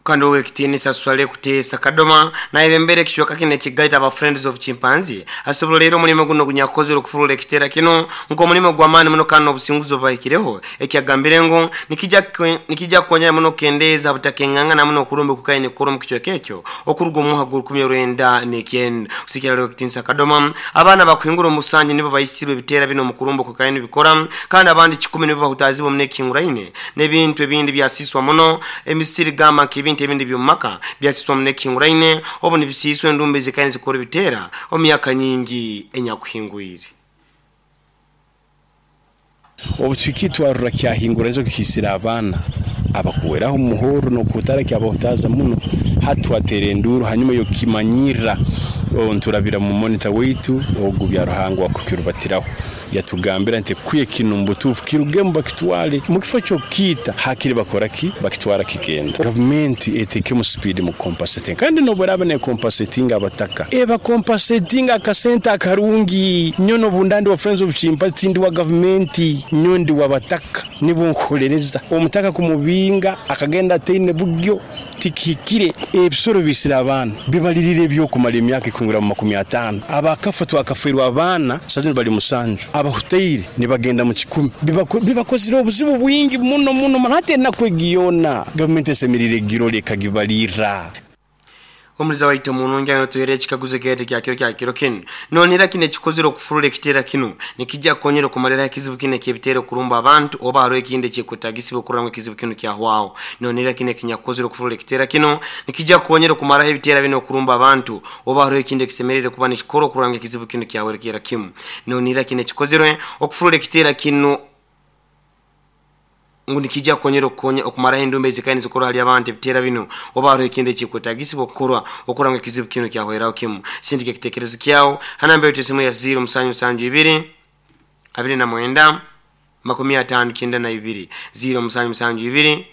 Kandi Owekitiinisa Swaleh Kuteesa Kadoma nayebembera ekicweka kinu ekigaita aba Friends of Chimpanzee asoboleire omulimo gunu ogunyakukozere okufurura ekiteera kinu nk'omulimo gw'amaani muno kandi n'obusinguzi obubahikireho ekyagambire ngu nikija nikija kukonyera muno kukendeeza ha butakengangana muno okurumba okukaire nikukorwa omu kicweka ekyo okuruga omu mwaka gw'orukumi orwenda n'ekyenda. Kusigikira hali Owekitiinisa Kadoma, abaana abakuhingura omu busangi nibo baisirwe ebiteera binu omu kurumba okukaire nibikora kandi abandi kikumi nibo bahutaazibwe muno ekihinguraine n'ebintu ebindi byasiiswa muno. Emisiri gamba nk'ebintu ebindi eby'omu maka byasiiswa muno ekihinguraine obu nibisiiswa endumba ezikaire nizikora ebiteera omu myaka nyingi enyakuhingwire. Obu tuhikire twarora kyahingura enjoki kiisire abaana abakuweraho omu muhorro n'okuhutaara kyabahutaaza muno. Hati twateera enduuru hanyuma y'okukimanyirra nturabira mu monitor waitu ogu Byaruhanga owakukirubatiraho. Yatugambira nti, Kwiha kinu omu butuufu kirugemu bakitwale. Mu kifo ky'okukiita, hakiri bakora ki? Bakitwara kigenda. Gavumenti eteekemu sipiidi mu kukompasetinga. Kandi n'obu eraaba neekompasetinga abataka, ebakompasetinga akasente akarungi. Nyowe n'obu nda ndi wa Friends of Chimpanzee, tindi wa gavumenti, nyowe ndi w'abataka. Nibo nkuholereza. Omutaka kumubinga akagenda ataine buryo. Tikihikire. Ebisoro biisire abaana, bibalirira eby'okumara emyaka ekuhingura mu 50. Abakafa twakafeerwa abaana saaha zinu bali musanju, abahutaire nibagenda mu kikumi. Bibakozire obuzibu bwingi muno muno muno. Hati enaku egi yoona gavumenti esemeriire egirole ekagibalirra. Omuliza waitu omurungi aine otuheereza ekikaguzo ekyaitu ekya kiro kya kiro kinu. Nonihira kinu ekikozere okufurura ekiteera kinu nikija kukonyera okumaliraho ekizibu kinu eky'ebiteera okurumba abantu oba haroho ekindi eky'ekwetagisibwa okurora ngu ekizibu kinu kyahwaho? Nonihira kinu ekinyakukozere okufurura ekiteera kinu nikija kukonyera okumaraho ebiteera binu okurumba abantu oba haroho ekindi ekisemeriire kuba nikikorwa okurora ngu ekizibu kinu kyahwerekerra kimu? Nonihira kinu ekikozerwe okufurura ekiteera kinu ngu nikiija kukonyera okukonya okumaraho endumba ezikaire nizikorwa hali abantu ebiteera binu oba haroho ekindi ekikwetagisibwa okukorwa okurora ngu ekizibu kinu kyahweraho kimu. Sindika ekitekerezo kyawe ha namba yaitu esimu ya ziiro musanju musanju ibiri 29 59 ziiro musanju musanju ibiri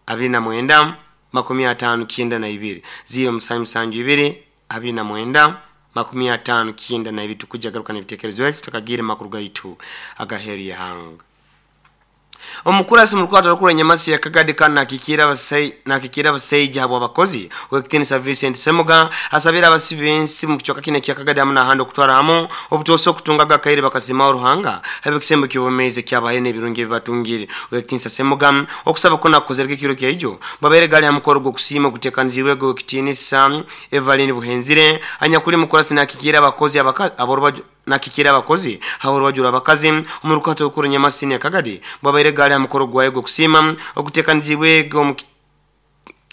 29 59 ziiro musanju musanju ibiri 29 59 Tukwija garuka n'ebitekerezo byaitu tutakagiire mu makuru gaitu agaheeru y'ihanga. Omukurasi omu rukwata rukuru Nyamasi ya Kagadi kandi nakikiira abasaija habw'abakozi, Ow'ekitiinisa Vincent Ssemuga asabire abasibi b'ensi omu kicweka kinu ekya Kagadi hamu n'ahandi okutwara hamu obutoosa okutungaga akaire bakasiimaho Ruhanga habw'ekisembo ky'obwomeezi ekyabahaire n'ebirungi ebi batungire. Ow'ekitiinisa Ssemuga okusaba kunu akukozerege ekiro kya ijo bwabaire gali ha mukoro gw'okusiima oguteekaniziibwege Ow'ekitiinisa Evaline Buhenzire anyakuli mukurasi nakikiira abakozi ab'orubaju Nakikira abakozi habw'orubaju rw'abakazi omu rukato orukuru Nyamasini Akagadi bwabaire gaali ha mukoro gwayo gw'okusiima oguteekaniziibwe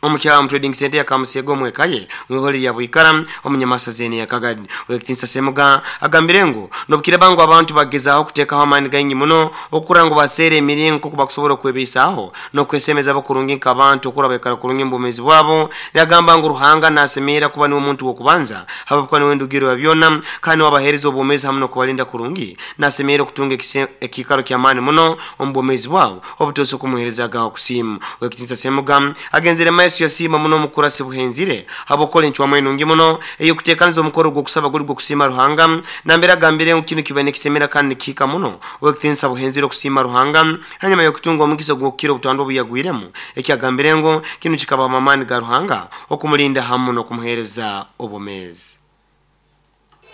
omu Kyalamo Trading Centre ya Kamuseega omu eka ye omu ihore lya Bwikara omu Nyamasa zeene ya Kagadi. Ow'ekitiinisa Ssemuga agambire ngu n'obukiraaba ngu abantu bagezaaho kuteekaho amaani gaingi muno okurora ngu baseera emiringo nk'oku bakusobora okwebeisaaho n'okwesemeza bo kurungi nk'abantu okurora baikara kurungi omu bwomeezi bwabo. Yagamba ngu Ruhanga nasemerra kuba niwe muntu w'okubanza habwokuba niwe ndugirro ya byona kandi niwe abaheereza obwomeezi hamu n'okubalinda kurungi. Nasemerra okutunga ekiikaro ky'amaani muno omu bwomeezi bwabo obutosa okumuheerezagaho okusiima. Ow'ekitiinisa Ssemuga agenzere maiso yasiima muno omukurasi Buhenzire habw'okukora encwamu enungi muno ey'okuteekaniza omukoro gw'okusaba guli gw'okusiima Ruhanga nambere agambire ngu kinu kibaire nikisemera kandi nikihika muno Ow'ekitiinisa Buhenzire okusiima Ruhanga Hanyuma y'okutunga omugisa ogw'okukira obutandwa obu yagwiremu, eki agambire ngu kinu kikabamu amaani ga Ruhanga okumulinda hamu n'okumuheereza obwomeezi.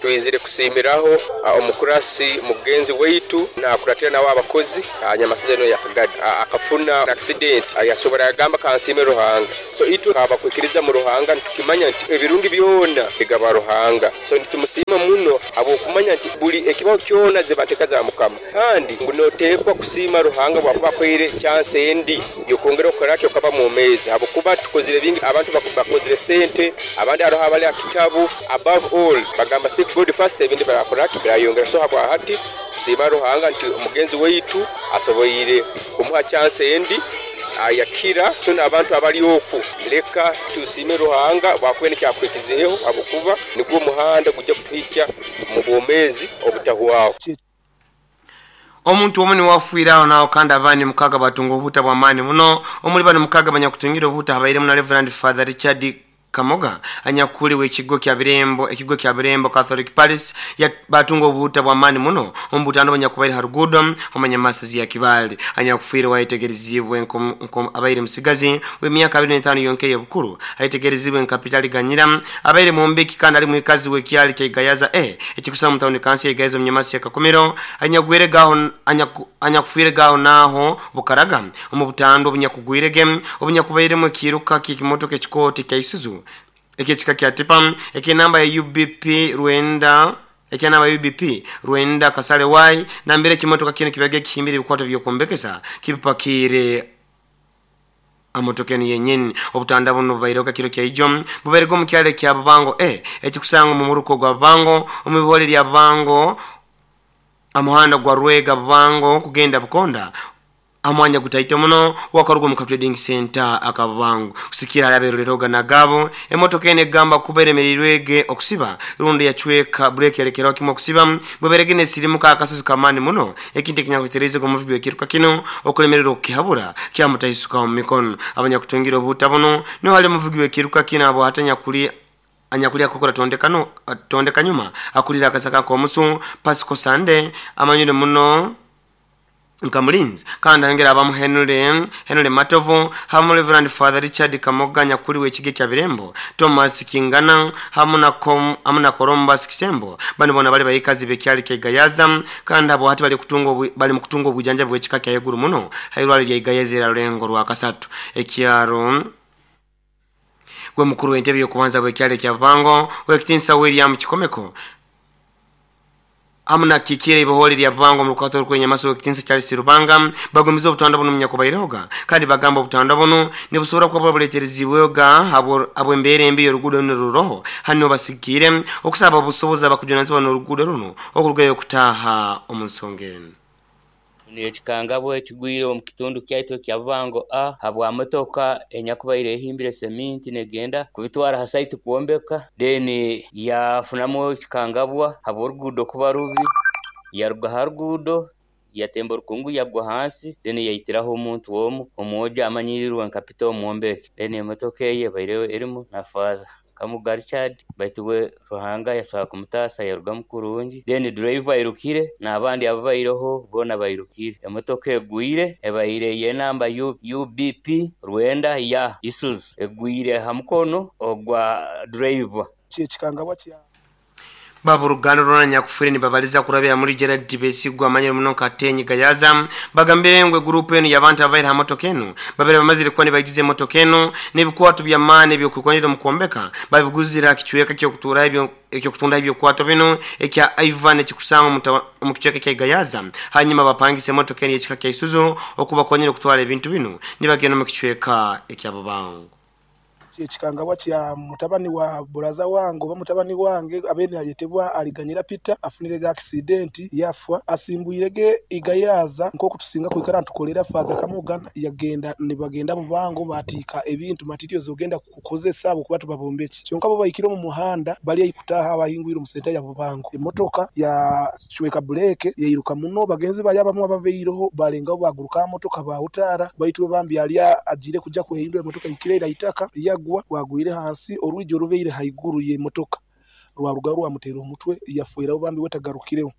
Twizire kusiimiraho omukurasi mugenzi waitu nakuratira nawe abakozi Nyamasaza eno ya Kagadi. Akafuna accident yasobora yagamba kansiime Ruhanga. So itwe abakwikiriza mu Ruhanga nitukimanya nti ebirungi byona bigaba Ruhanga. So nitumusiima muno habw'okumanya nti buli ekibaho kyona ziba nteka za Mukama. Kandi ngu noteekwa kusiima Ruhanga bwakuba akuhaire chance endi yokwongera okukora ki okaba mwomeezi habwokuba tukozire bingi abantu bakozire sente abandi haroho abali aha kitabu above all bagamba seek God first ebindi barakora ki birayongera so habwahati tusiima Ruhanga nti omugenzi waitu asoboire kumuha chance endi ayakira so nabantu abali oku leka tusiime Ruhanga bwakuba nikyo akuhikizeho habwokuba nigwo omuhanda gujja kutuhikya omu bwomeezi obutahwaho. Omuntu omu niwe afiire aho naaho kandi abandi mukaaga baatunga obuhuta bw'amaani muno. Omuri banu mukaaga abanyakutungire obuhuta habairemu na Rev. Father Richard. Kamoga anyakuli w'ekigo kya Birembo ekigo kya Birembo Catholic Parish batunga obuhuta bw'amaani muno omu butanda obunyakubaire ha ruguudo omu ya Kibaale. Anyakufiire wayetegerezibwe nko abaire musigazi w'emyaka 25 yonka ey'obukuru, ayetegerezibwe nka Peter Liganyira, abaire mwombeki kandi ali mwikazi w'ekyali kya Igayaza A ekikusanga mu tawuni kansi ya Igayaza omu Nyamasi ya Kakumiro. Anyagwire gaho anyakufiire gaho naho Bukaraga omu butanda obunyakugwirege obunyakubairemu ekiruka ky'ekimotoka ekikooti kya Isuzu ekyekika kya Tipa eky'enamba ya UBP Rwenda ekyanamba UBP Rwenda Kasale Y, nambere ekimotoka kinu kibaga kihimbire ebikwato by'okwombekesa kibipakiire amotoka enu yenyini. Obutanda buno bubaireho kiro kyaijo, bubairege omu kyalo ekya Bubango A ekikusanga omu muruko gwa Bubango omu bihore lya Bubango, amuhanda gwa Rwega Bubango kugenda Bukonda, amwanya gutaito muno wakaruga omu trading center akabubango. Kusikira hali nagabo emotoka eno egamba kuba eremereirwege okusiba rundi yacweka breki yalekeraho kimwe okusiba, bweberege nesirimuka akasozi kamaani muno, ekintu ekinyakutereze omuvugi w'ekiruka kino okulemererwa okukihabura kyamutahisuka omu mikono. Abanyakutungira obuhuta buno niho hali omuvugi w'ekiruka kino abo hati anyakuli akukora tondekano tondeka nyuma akulira akasaka nk'omusu Pasco Sande amanyire muno nka mulinzi, kandi ayongera abamu Henry Matovu hamu Reverend Father Richard Kamoga nyakuli w'ekigo kya Birembo, Thomas Kingana hamu na Columbus Kisembo. Bano bona bali bayikazi b'ekyali kya Igayaza, kandi abo hati bali mu kutunga obujanjabi bw'ekika kya iguru muno hairwaliro lya Igayaza era rulengo rwa kasatu. Ekyaro gwe mukuru w'entebe y'okubanza bw'ekyalo kya Bubango w'ekitinsa William Kikomeko hamu na kikire ibihore lya Bubango mu rukato rw'enyamaso w'ekitinsa Charles Rubanga bagumiza obutanda buno munyakubairehega, kandi bagamba obutanda buno nibusobora kuba buleterezibwega habw'embeera embi y'oruguudo runo ruroho. Hano basigikire okusaba obusobozi abakujunanizibwa n'oruguudo runo okurugayo okutaaha omu nsonga enu. Ekikangabwa ekigwire omu kitundu kyaitu ekya Bubango A habwa motoka enyakubaire ehimbire seminti negenda kubitwara ha site kwombeka, then yafunamu ekikangabwa habw'oruguudo kuba rubi, yaruga ha ruguudo yatemba orukungu yagwa hansi, then yaitiraho omuntu omu omwojo amanyirirwe nka Peter Omwombeki. Then emotoka eye ebaire erimu na Father Kamuga Richard, baitu we Ruhanga yasobora kumutaasa yarugamu kurungi. Then driver airukire n'abandi ababaireho boona bairukire. Emotoka egwire ebaire y'enamba UBP Rwenda ya Isuzu, egwire ha mukono ogwa driver. Ekikangabwa kya Baba uruganda rwona nyakufire nibabaliza kurabira muri Gerard Besigwa amanyire muno nka Tenyi Gayaza, bagambire ngwe group enu y'abantu abaire ha motoka enu babere bamazire kuba nibagize emotoka enu n'ebikwato by'amaani eby'okwikonera omu kwombeka babiguzira kicweka ky'okutuura ebyo eky'okutunda ebyokwato bino ekya Ivan ekikusanga omu kicweka kya Gayaza, hanyuma bapangisa emotoka enu y'ekika kya Isuzu okubakonyera okutwara ebintu bino nibagenda omu kicweka ekya Bubango. Ekikangabwa kya mutabani wa buraza wange oba mutabani wange abaire nayetebwa Aliganyira Peter afunirege accident yafa, asimbwirege Igayaza nk'oku tusinga kwikara nitukolera Father Kamoga, yagenda nibagenda Bubango batiika ebintu materials ogenda kukozesa habwokuba tubabombeki. Kyonka bo bahikire omu muhanda bali haihi kutaaha abahingwire omu senta ya Bubango, emotoka yacweka bureke yairuka muno, bagenzi bayo abamwe ababaireho balengaho baguruka aha motoka bahutaara, baitu we bambi yali agiire kuja kwehindura emotoka ehikire ira itaka yagwa bwagwire hansi orwigi orubaire haiguru y'emotoka rwarugaho rwamuteera omutwe yafweraho bambi we tagarukireho.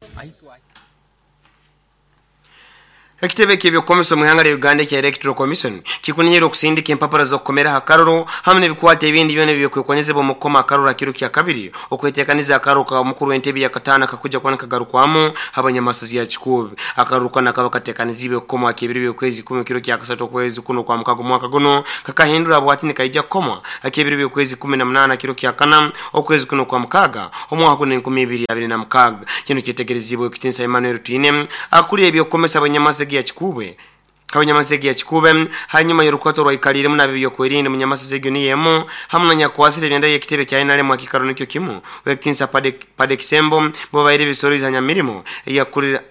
Ekitebe ky'ebyokukomesa omu ihanga lya Uganda ekya Electoral Commission kikunihire okusindika empapura z'okukomera aha karuru hamu n'ebikwato ebindi byona ebyokwekonyezebwa omu kukoma akaruru ha kiro kya kabiri okweteekaniza akaruru ka mukuru w'entebe ya kataano akakuja kuba nikagarukwamo habanyamasozi ya Kikuubi. Akaruru kanu akaba kateekaniziibwe kukomwa ak'ebiro by'okwezi 10 kiro kya kasatu okwezi kuno kwa mukaga omwaka guno kakahindura bwati nikaija kukomwa ak'ebiro by'okwezi 18 kiro kya kana okwezi kuno kwa mukaga omwaka guno 2026. Kino kyetegerezibwe Kitinsa Emmanuel Twine akulira ebyokukomesa abanyamasegi ya Kikuube abanyamasegi ya Kikuube hanyuma y'orukwato rwaikaliremu nabyo byokwerinda munyamasegi niyemu hamu na nyakwasire ebyenda y'ekitebe kya NRM akikaro nikyo kimu Wekitinsa Pade Kisembo bo baire bisoriza nyamirimo eyakulira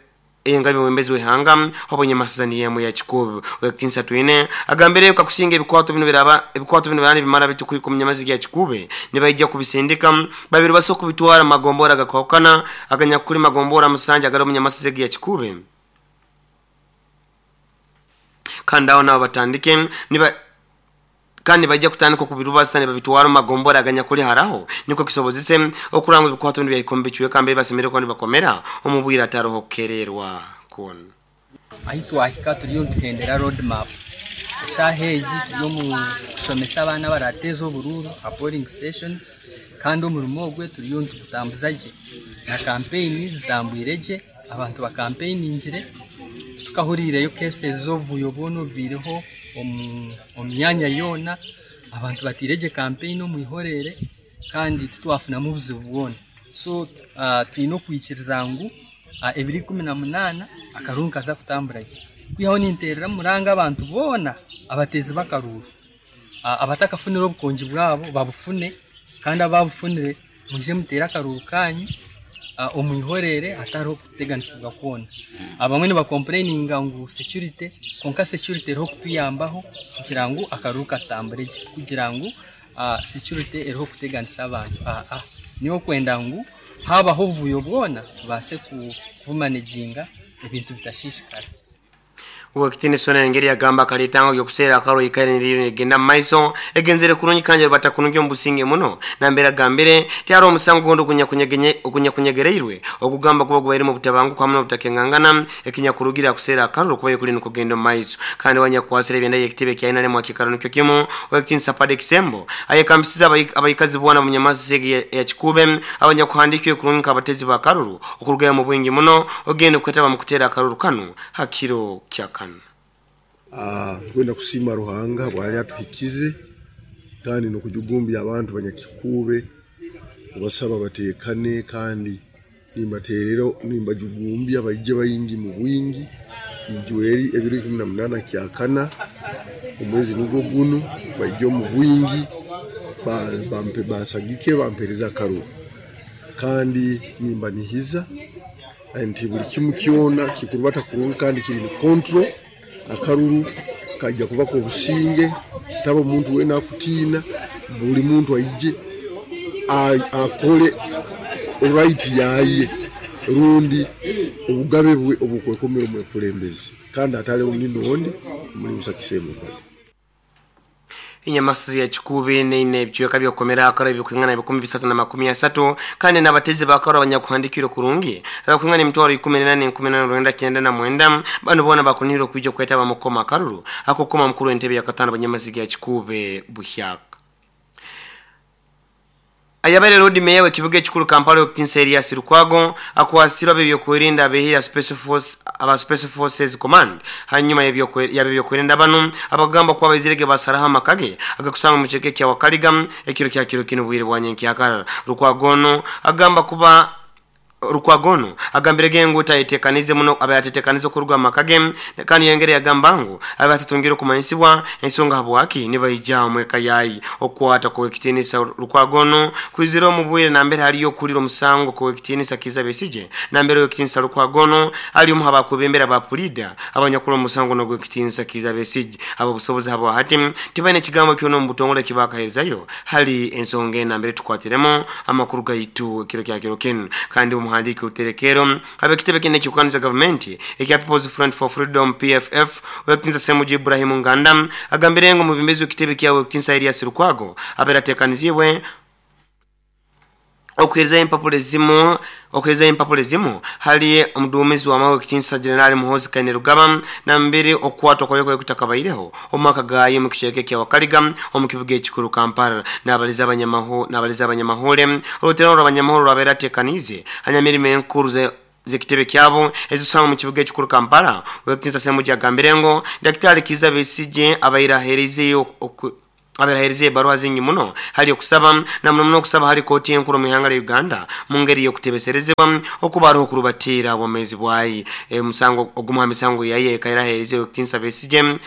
engabi mwembezi w'ihanga abanyamasezi niyemu ya Kikuube. Wekitinsa Twine agambire kakusinga ebikwato bino biraba ebikwato bino birani bimara bitukwika munyamasegi ya Kikuube nibaija kubisindika babiri baso kubitwara magombora gakokana aganyakuli magombora musanja agari munyamasezi ya Kikuube, kandi aho nabo batandike niba Kandi nibaija kutandika okubirubasa nibabitwara omu magombora aganyakuli haraho nikwo kisobozese okurora ngu ebikwato binu byahika omu bicweka mbere basemeriire kuba nibakomera omu bwire hataroho kukererwa kwona. Ahi twahika turiyo nituhendera road map. Eshaaha egi turi omu kushomesa abaana abarateeze oburuuru aha polling stations kandi omurimo ogwe turiyo nitugutambuza gye na kampeyini zitambwire gye, abantu bakampeyiningire titukahuriireyo cases z'obuvuyo bwona obubaireho omu myanya yoona, abantu bateire gye kampeyini omu ihoreere kandi titwafunamu buzibu bwona. So twine okwikiriza ngu ebiro 18 akaruuru nikaza kutambura gye. Kwihaho ninteerera omuranga abantu boona abateezi b'akaruuru abatakafunire obukongi bwabo babufune kandi ababufunire mwije muteere akaruuru kanyu omu ihoreere hatariho kuteganisibwa kwona. Abamwe nibakompureyininga ngu security kwonka security eriho kutuyambaho kugira ngu akaruuru katambure gye kugira ngu security eriho kuteganisa abantu aa niyo okwenda ngu habaho obuvuyo bwona tubaase kubumaneginga ebintu bitashishikara. Ow'ekitiinisa ono engeri yagamba akaleeta ngu eby'okuseera akaruru ikaire niriyo nirigenda mu maiso egenzere kurungi kandi erubata kurungi omu businge muno nambere agambire tiharoho omusango gundi ogunyakunyegereirwe ogugamba kuba gubairemu obutabanguko hamu n'obutakengangana ekinyakurugire ha kuseera akaruru kubaire kuli nikugenda omu maiso. Kandi we anyakukwasire ebyenda y'ekitebe ekya NRM ha kiikaro nikyo kimu, Ow'ekitiinisa Paddy Kisembo, ayekambisize abaikazi boona ab'omunyamasisi egi eya Kikuube abanyakuhandiikirwe kurungi nk'abateezi b'akaruru okurugayo omu bwingi muno ogende kwetaba omu kuteera akaruru kanu ha kiro kya kana. Nkwenda kusiima Ruhanga habwali atuhikize kandi n'okujugumbya abantu banyakikuube kubasaba bateekane kandi nimbateerera nimbajugumbya baije baingi mu bwingi ijweri ebiro 18 kyakana omwezi nugwo gunu baije omu bwingi bansagike bampereze akaruru kandi nimbanihiza nti buli kimu kyona kikurubata kurungi kandi kiri ni control akaruru kajja kuba k'obusinge taba omuntu weena akutiina buli muntu aije akole right yaye rundi obugabe bwe obukwekomera omwekulembezi kandi ataleho ninondi omulimu sakisembo bali. Enyamasizi ya Kikuube neine ebicweka by'okukomera akaro ebikwingana 330 kandi n'abatezi b'akaro abanyakuhandiikirwe kurungi abakwingana emitwaro 18 499 banu boona bakunihirwe okwija okwetaba mu kukoma akaruru ak'okukoma mukuru w'entebe ya katano Banyamasiga ya Kikuube buhyaka. Ayabaire Loodi Meeya w'ekibuga ekikuru Kampala Ow'ekitiinisa Erias Lukwago akwasirwe ab'ebyokwerinda ab'eihire Special Force aba Special Forces Command hanyuma y'ab'ebyokwerinda banu abakugamba kuba baizirege basaraho amaka ge agakusangwa omu kicweka ekya Wakaliga ekiro kya kiro kinu obwire bwa nyenkyakara. Lukwago onu agamba kuba Lukwago onu agambirege ngu tayetekanize muno abaire atetekanize okuruga omu maka ge kandi yayongera yagamba ngu abaire atatungire okumanyisibwa ensonga habwaki nibaija omu eka yaye. Okukwata kw'Owekitinisa Lukwago onu kwizire omu bwire nambere hariyo okuhurira omusango kw'Owekitinisa Kiiza Besigye nambere Owekitinisa Lukwago onu ari omu h'abakwebembera ba Puliida abanyakuli omu musango n'Ogwekitinisa Kiiza Besigye. Ab'obusobozi habwahati tibaine kigambo kyona omu butongole ekibakaherezayo hali ensonga enu nambere tukwatiremu amakuru gaitu ekiro kya kiro kinu. Kandi omuhandiiki w'oruterekero ab'ekitebe kinu ekirikukaniza gavumenti ekya People's Front for Freedom, PFF, Ow'ekitinisa Ssemuju Ibrahim Nganda agambire ngu omwebembezi w'ekitebe kya Ow'ekitinisa Erias Lukwago abaire ateekaniziibwe okuheerezayo empapura ezimu okuheerezayo empapura ezimu hali omuduumizi w'amahe Ow'ekitinisa Jenerali Muhoozi Kainerugaba nambere okukwatwa kwayo kwayo kutakabaireho omu maka gaayo omu kicweka ekya Wakaliga omu kibuga ekikuru Kampala. Naabaliza abanyamahule oruteerano rw'abanyamahule orwabaire ateekaniize hanyamirimo enkuru z'ekitebe kyabo ezikusangwa omu kibuga ekikuru Kampala, Ow'ekitinisa Ssemujju agambire ngu Daktari Kiiza Besigye abaire aheereizeyo Abaire aheerize ebaruha zingi muno hali okusaba na muno muno okusaba hali kooti enkuru omu ihanga lya Uganda mu ngeri y'okutebeserezebwa okuba haroho okurubatiira obwomeezi bwaye. Omusango ogumu ha misango yaye ekaire aheerize Ow'ekitinisa Besigye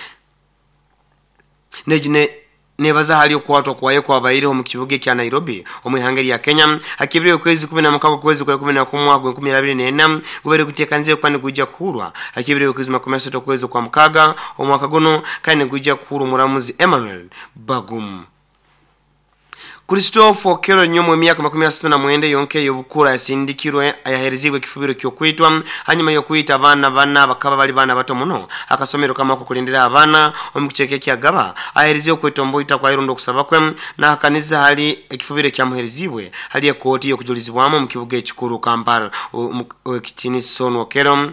nebaza hali okukwatwa kwaye okwabaireho omu kibuga ekya Nairobi omu ihanga erya Kenya hakibire okwezi 16 okwezi kwa 11 omwaka gwa 2024 gubaire guteekaniziibwe kuba nigwija kuhuurwa Hakibire okwezi 30 okwezi okwa mukaaga omwaka gunu kandi nigwija kuhurwa omuramuzi Emmanuel Bagum. Christopher Okello Nyomo emyaka 39 yonka ey'obukura yasindikirwe ayaherezibwe ekifubiro ky'okwitwa hanyuma y'okwita abaana bana bakaba bali baana bato muno akasomero kamwe akokulindira abaana omu kicweka ekyagaba ahereziwe okwetomboita kwa irundo okusaba kwe nahakaniza hali ekifubiro ekyamuherezibwe hali ekooti y'okujulizibwamu omu kibuga ekikuru Kampala. Owekitiinisa onu Okello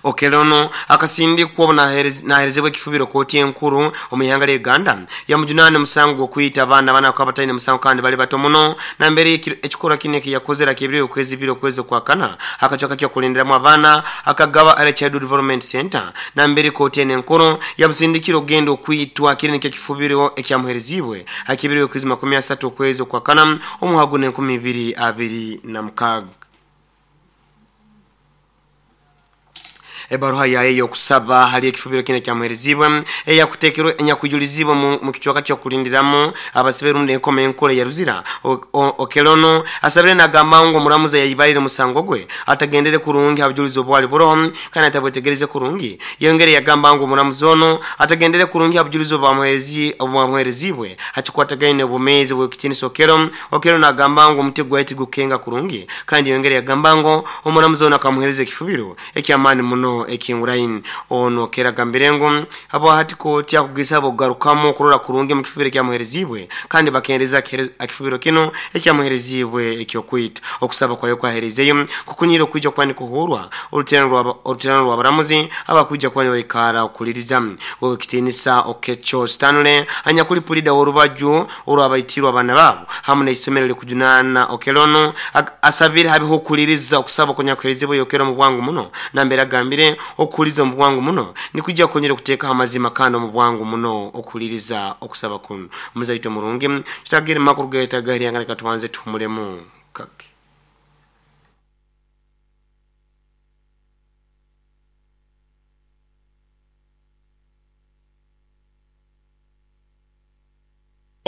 Okello ono akasindikwa obu naherezibwa ekifubiro kooti enkuru omu ihanga lya Uganda yamujunaana omusango gw'okwita abaana bana bakaba bataine musango kandi bali bato muno nambere ekikorwa kinu ekiyakozere akibire okwezi ibiri okwezi okwakana akacweka ky'okulindiramu abaana akagaba Early Childhood Development Center nambere kooti eno enkuru yamusindikire okugenda okwitwa kiri nikyo ekifubiro ekyamuherezibwe akibire okwezi 30 okwezi okwakana omwaka guno 2026. Ebaruha yaye ey'okusaba hali ekifubiro kinu ekyamuherezibwe eyakutekerwe enyakwijulizibwe mu kicweka ky'okulindiramu abasibe rundi enkoma enkuru eya Ruzira. Okello ono asabire nagamba ngu omuramuzi yayibarire omusango gwe atagendere kurungi ha bujulizi obwali buroho kandi atabwetegereze kurungi. Yongere yagamba ngu omuramuzi ono atagendere kurungi ha bujulizi obwamuherezibwe hakikwatagaine obwomeezi bw'ekitiinisa Okello. Okello nagamba ngu omuti gwaye tigukenga kurungi kandi yongere yagamba ngu omuramuzi ono akamuhereza ekifubiro eky'amaani muno ekinguraini. Ono Okello agambire ngu habwahati kooti akugisa okugarukamu okurora kurungi omu kifubiro ekyamuherezibwe kandi bakendereza ekifubiro kinu ekyamuherezibwe ekyokwita. Okusaba kwayo kwaherezeyo kukunyira okwija kuba nikuhurwa oruterano rw'abaramuzi abakwija kuba nibaikara okuliriza. Owekitiinisa Okecho Stanley anyakuli pulida w'orubaju orwabaitirwe abaana baabo hamu n'eisomero erikujunaana Okello ono asabire habeho okuliriza okusaba okunyakuherezibwe Okello omu bwangu muno nambere agambire okukuliza omu bwangu muno nikujja kukonyera okuteekaho amazima kandi omu bwangu muno okuliriza okusaba kunu. Omuzaito murungi tutagire makuru getagahiryanga leka tubanze tuhumulemu kake.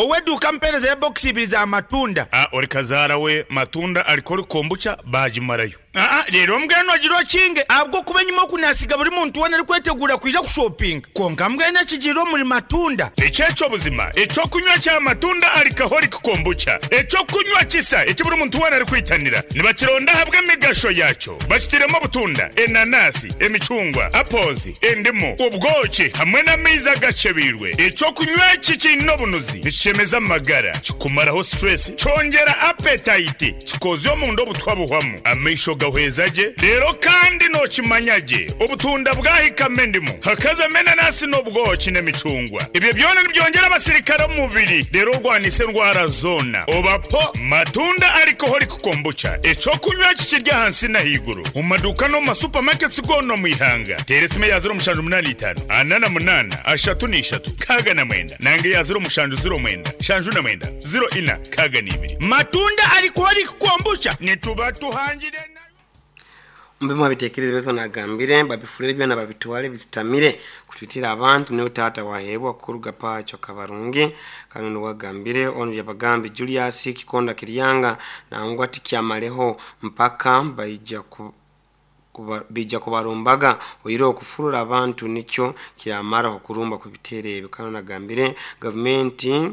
Ow'eduuka ampeereza ebokisi ibiri za matunda. A Ori kazaara we matunda arikori kombucha baagimarayo. Aa Reero mbwenu ogire okinge ahabw'okuba enyima oku naasiga buri muntu weena arikweteguura kwija kushopinga. Kwonka mbwenu ekigiire omuri matunda. Eki eky'obuzima eky'okunywa kya matunda alcoholic kombucha, eky'okunywa kisa eki buri muntu weena arikwitanira. Nibakironda ahabw'emigasho yaakyo. Bakitairemu obutunda, enanasi, emicungwa, apples, endimu, obwoki hamwe n'amaizi agakyebeirwe. Eky'okunywa eki kiine obunuzi, nikishemeza amagara, kikumaraho stress, kyongyera appetite, kikoozya omunda obutwa buhwamu, amaisho gahweza gye, reero kandi nookimanya gye obutunda bwahikamu endimu, hakazamu enanasi n'obwoki n'emicungwa. Ebyo byona nibyongyera abasirikare omu mubiri reero orwanise endwara zoona. Oba po Matunda Alcoholic Kombucha, eky'okunywa eki kiri ahansi n'ahaiguru omu maduuka n'omu ma supermarkets goona omu ihanga. Teera esimu eya 0785 48 33 69 nanga eya 0709 79 04 62. Matunda Alcoholic Kombucha nituba tuhangire nayo. Omu bimwe abitekerezo baitu nagambire babifurire byona babitwale bitutamire kutwitira abantu niwe taata waheebwa kuruga Pacho Kabarungi. Kandi onu wagambire onu Byabagambi Julius Kikonda Kiryanga nangwa tikyamareho mpaka baija ku bija kubarumbaga oihireho okufurura abantu nikyo kiramaraho okurumba kw'ebiteero ebi. Kandi onu agambire gavumenti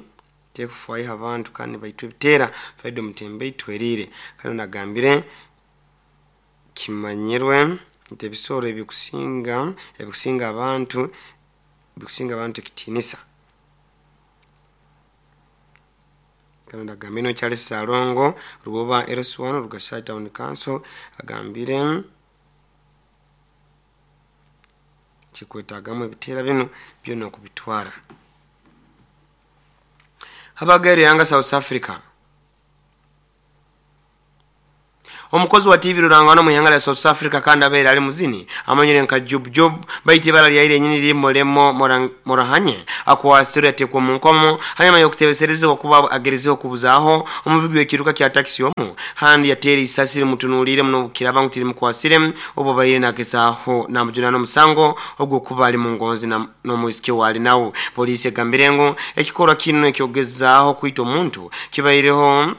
tekufaayo abantu kandi baitwa ebiteera Fred Mutembe Itwerire. Kandi onu agambire kimanyirwe nti ebisoro ebikusinga abantu ekitiinisa. Kandi agambire no Charles Salongo Rwoba LC1 Rugashai Town Council agambire kikwetagamu ebiteera binu byona okubitwara. Habagere yanga South Africa. Omukozi wa TV rurangano mu ihanga lya South Africa kandi abeera ali muzini amanyire nka Jub Jub baiti ibara lyaire nyini limolemo Morahanye akwasirwe yatekwa mu nkomo hanyuma y'okutebeserezebwa kuba agerezeho kubuzaho omuvugi w'ekiruka kya taxi omu handi yateera isasi rimutunuulire muno kiraba ngu tirimukwasire obwo baire nagezaho namujuna n'omusango ogw'okuba ali mu ngonzi n'omwisiki waali nawe. Poliisi egambire ngu ekikorwa kinu ekyogezaaho kwita omuntu kibaireho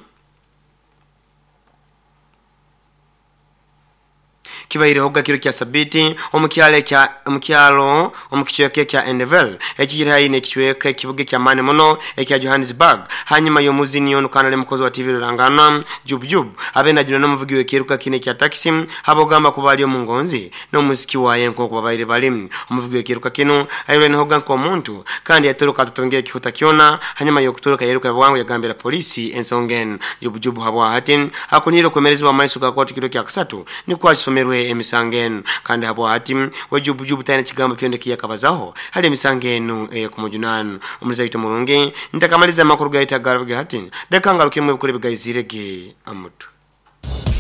Kibairehoga kiro kya Sabiiti omu kyaro ekya omu kyaro omu kicweka ekya Endevel ekiri haihi n'ekicweka ekibuga eky'amaani muno ekya Johannesburg hanyuma y'omuzini onu kandi ali mukozi wa TV ruranganwa Jub Jub abe najunwa n'omuvugi w'ekiruka kinu ekya takisi habw'okugamba kuba ali omu ngonzi n'omwisiki waye nk'oku babaire bali. Omuvugi w'ekiruka kinu airwenehoga nk'omuntu kandi yatoroka atatungire kihuta kyona hanyuma y'okutoroka yairuka bwangu yagambira poliisi ensonga enu. Jub Jub habwahati akuniire okwemerezibwa omu maiso ga kooti kiro kyakasatu nikwo akisomerwe emisango enu kandi habwahati we Jub Jub talina kigambo kyona ekiyakabazaho hali emisango enu ey'okumujunaana. Omulizi waitu omurungi, ntakamaliza amakuru gaitu agarabiga hati, leka ngarukemu ebikuru ebigaizire ge amutwe.